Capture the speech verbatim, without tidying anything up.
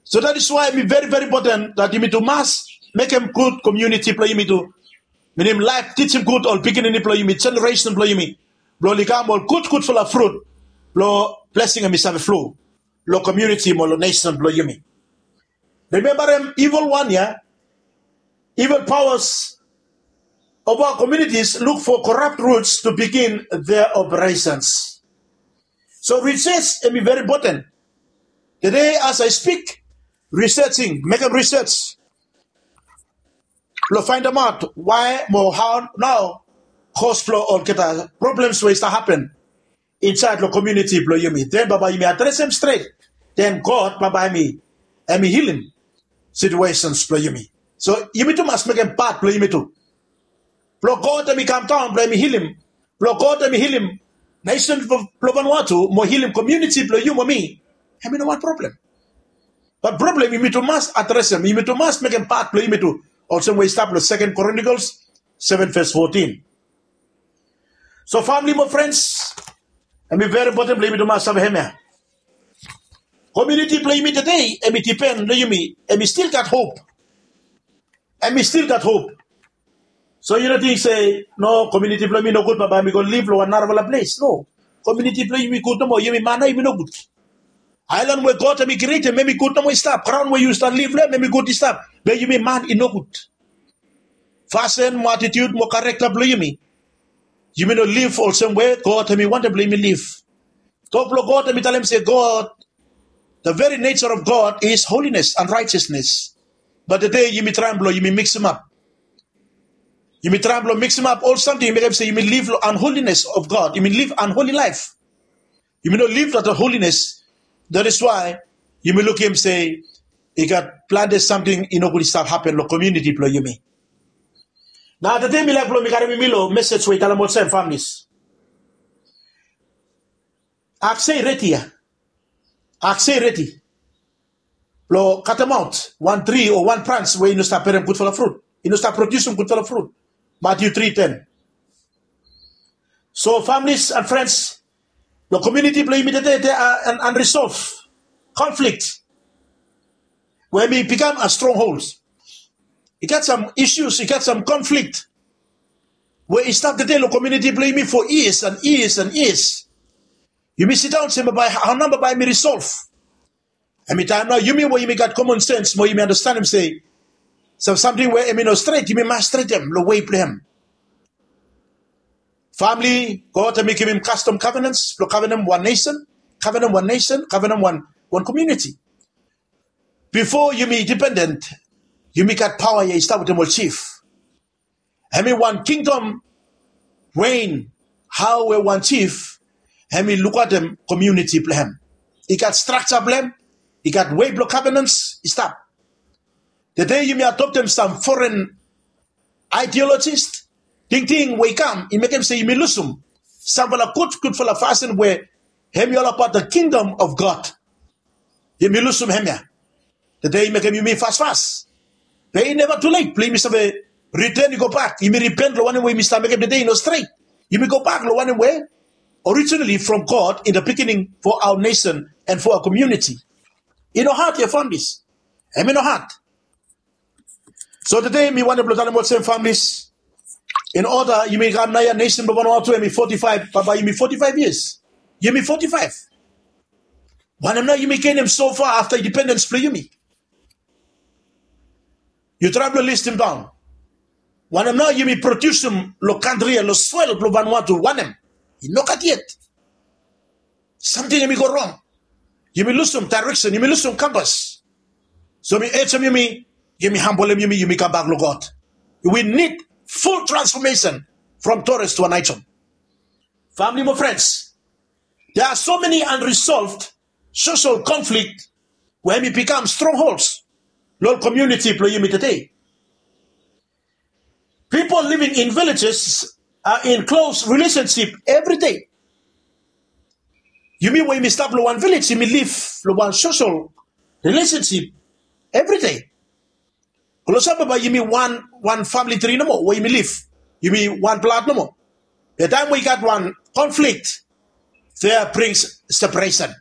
So that is why mi very very important that yumi tu mas mekem gud komuniti blong yumi tu. Minim laef tijim gud ol pikinini blong yumi, jeneresen blong yumi, blong oli kam ol gudgudfala frut blong blesing em i save flo long komuniti mo long nesen blong yumi. Rimembarem, ivil wan ya, ivil pawas of our communities look for corrupt routes to begin their operations. So research em i very important. Today as I speak, researching, mekem research blong faindamaot why mo how nao kos blong olgeta problems we i stap hapen insaed long komuniti blong yumi. Den bambae yumi adresem stret, den God bambae em i, em i hilim situesens blong yumi. So yumi tu mas mekem pat blong yumi tu blong God em i kam daon blong em i hilim, blong God em i hilim nesen blong Vanuatu mo hilim komuniti blong yu mo mi. Em i no wan problem. Bat problem yumi tu mas adresem, yumi tu mas mekem pat blong yumi tu, olsem we i stap long Second Chronicles seven verse fourteen. So famili mo frens, em i very important blong yumi tu mas save hemia. Komuniti blong yumi tede em i dipen long yumi, em i stil gat hop. Em i stil gat hop. So yu no ting se no, komuniti blong yumi nogud, bambae mi go liv long wan narafala ples. No, komuniti blong yumi gud nomo. Yumi man nao yumi nogud. Aelan we God em i krietem em i gud nomo i stap. Graon we yu stap liv long em em i gud i stap. Be yumi man i nogud. Fasin mo atitiud mo karekta blong yumi, yumi no liv olsem we God em i wantem blong yumi liv. Tok blong God em i talem se God, the very nature of God is holiness and righteousness. Bat tede yumi traem blong yumi miksimap. Yumi traem blong miksimap ol samting, yumi mekem se yumi liv long unholiness of God, yumi liv unholy life. Yumi no liv long the holiness. That is why yumi lukim se i gat plante samting i nogud i stap hapen long komuniti blong yumi. Nao tede mi laek blong mi karim yumi long mesej we i talem olsem, families, akse i redi ya. Akse i redi blong katemaot wan tri o wan brans we i no stap berem gudfala frut, i no stap prodiusim gudfala frut. Matiu tri ten. So families and friends, long komuniti blong yumi tede, there are an unresolved conflict we em i bikam a stronghold. I gat sam isus, i gat sam konflikt we i stap tede long komuniti blong yumi for years and years and years. Yumi sidaon se bambae, hao nao bambae em i risolv? Em i taem nao yumi we yumi gat komon sens mo yumi anastenem se sam samting we em i no stret, yumi mas stretem long wei blong hem. Famili, God em i givim kastom kavenans blong kavenem wan nesen, kavenem wan nesen, kavenem wan, wan komuniti. Bifo yumi indipenden, yumi gat paoa ya i stap wetem ol jif. Em i wan kingdom rein, hao we wan jif em i lukaotem komuniti blong hem. I gat strakja blong hem, i gat wei blong kavenans i stap. Tede yumi adoptem sam foren aedeolojis, tingting we i kam i mekem se yumi lusum samfala gudgudfala fasin we em i olabaot the kingdom of God. Yumi lusum hemia. Tede i mekem yumi fasfas. Be i neva tulet blong yumi save riten i gobak, yumi ripen long wanem we yumi stap mekem tede i no stret. Yumi gobak long wanem we originally from God in the beginning for our nation and for our community. I no had ya, families. Em i no had. So tede mi wantem blong talem olsem, families, in order yumi kam naoia, nesen blong Vanuatu em i foti faef, bambae yumi foti faef years. Yumi foti faef. Wanem nao yumi genem so far afta indipendens blong yumi? Yu traem blong listim daon. Wanem nao yumi prodiusim long kantri ya, long soel blong Vanuatu? Wanem? I nogat yet. Samting em i go rong. Yumi lusum daereksen, yumi lusum kampas. So mi ejem yumi, yumi hambolem yumi, yumi kambak long God. We need full transformation from Torres to Aneityum. Famili mo frens, there are so many unresolved social conflict we em i bikam strongholds long ol komuniti blong yumi tede. People living in villages are in close relationship every day. Yumi we yumi stap long wan vilej, yumi liv long wan social relationship every day. Klosap bambae yumi wan, wan famili tri nomo we yumi liv. Yumi wan blad nomo. Be taem we i gat wan conflict, there brings separation.